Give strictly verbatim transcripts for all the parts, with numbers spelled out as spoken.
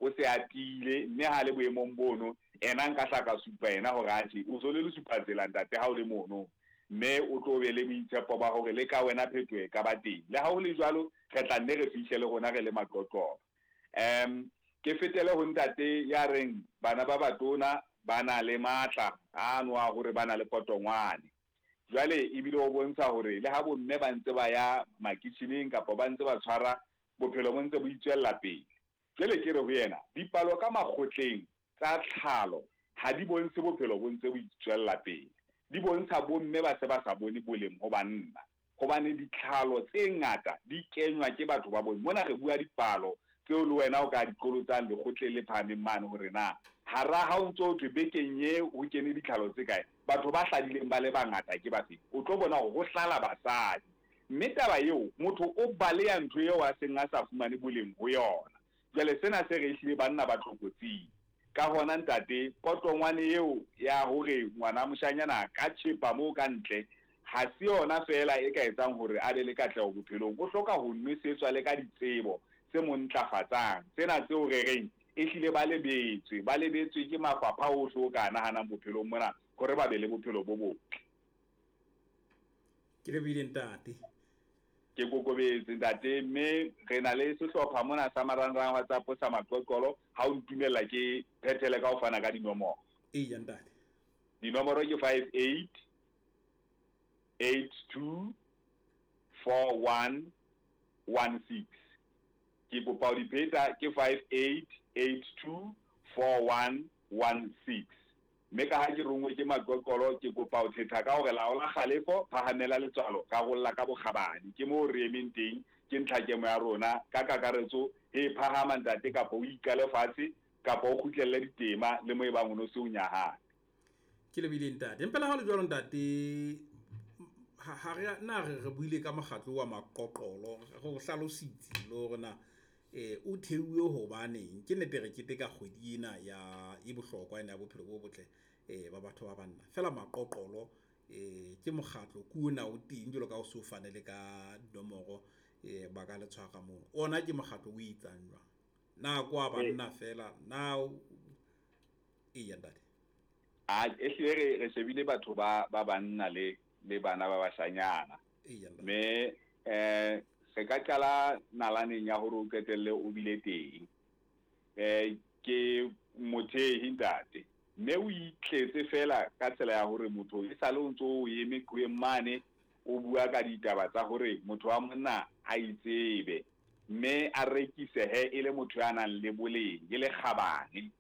o se a tiile, mme ha le boemong bono ena nka hla ka supa ena hore atjhe o so le lesupa tsela ntate ha o le mono, mme o tlo be le boitshepo ba hore le ka wena phetoho e ka ba teng. Le ha ho le jwalo, re tla nne re fihle le rona re le Maqoqolo. Um ke fetele ho ntate ya reng bana ba batona ba na le matla ano a hore ba na le potongwane. Jwale ebile o bontsha hore le ha bomme ba ntse ba ya makitjheneng kapa ba ntse ba tshwara, bophelo bo ntse bo itswella pele. Jwale ke re ho yena, dipalo ka makgotleng tsa tlhalo ha di bontshe bophelo bo ntse bo itswella pele. Di bontsha bomme ba se ba sa bone boleng ho banna, hobane ditlhalo tse ngata di kenywa ke batho ba bomme. Mona re bua dipalo tseo le wena o ka di qolotsang lekgotleng le phahameng mane hore na hara ha o ntso thwe bekeng e ho kene ditlhalo tse kae, batho ba hladileng ba le bangata ke bafe. O tlo bona hore ho hlala basadi, mme taba eo motho o baleha ntho eo a seng a sa fumane boleng ho yona. Jwale sena se re ehlile banna ba tlokotsing. Ka hona ntate, potongwane eo ya hore ngwana moshanyana ka tjhepa moo ka ntle ha se yona feela e ka etsang hore a be le katleho bophelong. O hloka ho nwesetswa le ka ditsebo tse mo ntlafatsang, tsena tseo re reng ehlile ba lebetswe, ba lebetswe ke mafapha ohle o ka nahanang bophelong mona hore ba be le bophelo bo botle. Ke lebohile ntate. Ke kokobetse ntate, mme re na le sehlopha mona sa marangrang WhatsApp sa Maqoqolo. Ha o ntumella ke phethele ka ho fana ka dinomoro. Eya ntate. Dinomoro ke five eight eight two four one one six. Ke kopa ho di pheta, ke five eight eight two four one one six. Mme ka ha ke rongwe ke Maqoqolo, ke kopa ho thetha ka hore laola kgalefo, phahamela letswalo, rarolla ka bokgabane. Ke moo re emeng teng, ke ntlhakemo ya rona ka kakaretso. He phahama ntate, kapa o ikale fatshe, kapa o kgutlelle ditema le mo e bang o no se o nyahame. Ke lebohile ntate. Empa le ha ho le jwalo ntate, ha, ha re na re, re buile ka mokgatlo wa Maqoqolo, re o hlalositse le hore na eh o theuwe hobaneng. Ke nnete re keteka kgwedi ena ya e bohlokwa ena ya bophelo bo botle eh ba batho ba banna. Feela Maqoqolo eh ke mokgatlo ke ona o teng jwalo ka o so fane le ka dinomoro eh ba ka le tshwara mono. Ona ke mokgatlo o etsang jwang? Na kwa banna feela na eya ntate? A ehlile re, re shebile batho ba, ba banna le, le bana ba bashanyana. Eya ntate. Mme eh re ka qala nalaneng ya hore o qetelle o bile teng. Eh ke mothehi ntate, mme o itletse fela ka tsela ya hore motho e sale o ntso o eme qhoweng mane o bua ka ditaba tsa hore motho wa monna a itsebe, mme a rekisehe e le motho ya nang le boleng, e le kgabane.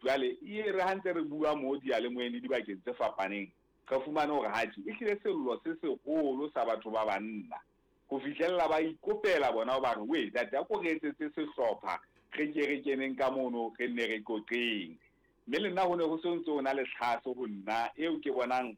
Jwale e re ha ntse re bua mo diyalemoyeng le dibakeng tse fapaneng, re fumane hore hatjhe ehlile sello se seholo sa batho ba banna ho fihlella ba ikopela bona ba re, we ntate, a ko re etsetse sehlopha, re ke re keneng ka mono, re nne re qoqeng. Mme le nna ho ne ho se ntse ho na le tlhaso ho nna eo ke bonang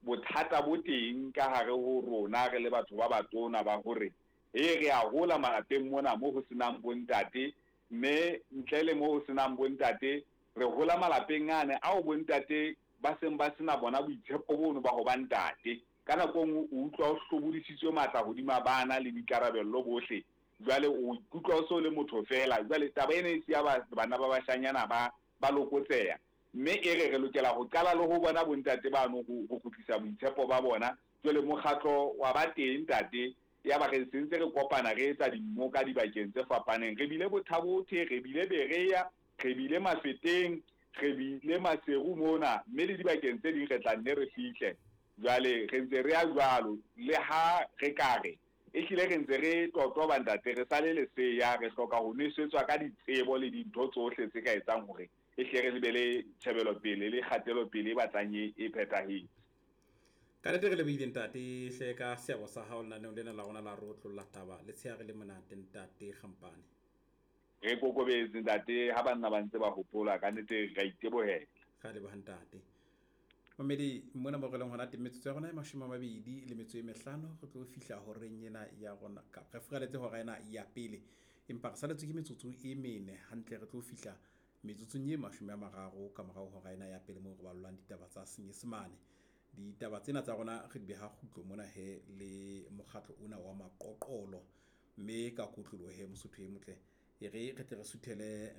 bothata bo teng ka hare ho rona re le batho ba batona ba hore e re a hola malapeng mona mo ho senang bontate, mme ntle le mo ho senang bontate re hola malapeng ane ao bontate ba seng ba sena bona boitshepo bono ba ho ba ntate. Ka nako e nngwe o utlwa o hlobodisitswe matla hodima bana le boikarabello bohle, jwale o ikutlwa o so le motho feela. Jwale taba ena e siya ba-, bana ba bashanyana ba, ba lokotseha, mme e re re lokela ho qala le ho bona bontate bano ho, ho kgutlisa boitshepo ba bona. Jwale mokgatlo wa ba teng ntate, ya ba re sentse re kopana re etsa dimmoka dibakeng tse fapaneng. Re bile Bothabothe, re bile Berea, re bile Mafeteng, re bile Maseru mona, mme le dibakeng tse ding re tla nne re fihle. Jwale re ntse re ya jwalo, le ha re ka re ehlile re ntse re totoba ntate, re sale leseya, re hloka ho nwesetswa ka ditsebo le dintho tsohle tse ka etsang hore ehlile re be le tjhebelopele le kgatelopele e batlang e, e phethahetse. Ka nnete re lebohile ntate hle ka seabo sa hao lenaneong lena la rona la re otlolla taba. Letshehare le monate ntate Kgampane. Re kokobetse ntate, ha banna ba ntse ba hopola, ka nnete re a itebohela. Re a leboha ntate. Mamedi, mona mo re leng hona teng, metsotso ya rona e mashome a mabedi le metso e mehlano, re tlo fihla horeng ena ya rona, ka re furaletse hora ena ya pele, empa re saletswe ke metsotso e mene hantle, re tlo fihla metsotsong e mashome a mararo ka morao hora ena ya pele moo re ballwang ditaba tsa Senyesemane. Ditaba tsena tsa rona re di beha kgutlo mona he le mokgatlo ona wa Maqoqolo, mme ka kotloloho he Mosotho e motle, e re re tle re suthele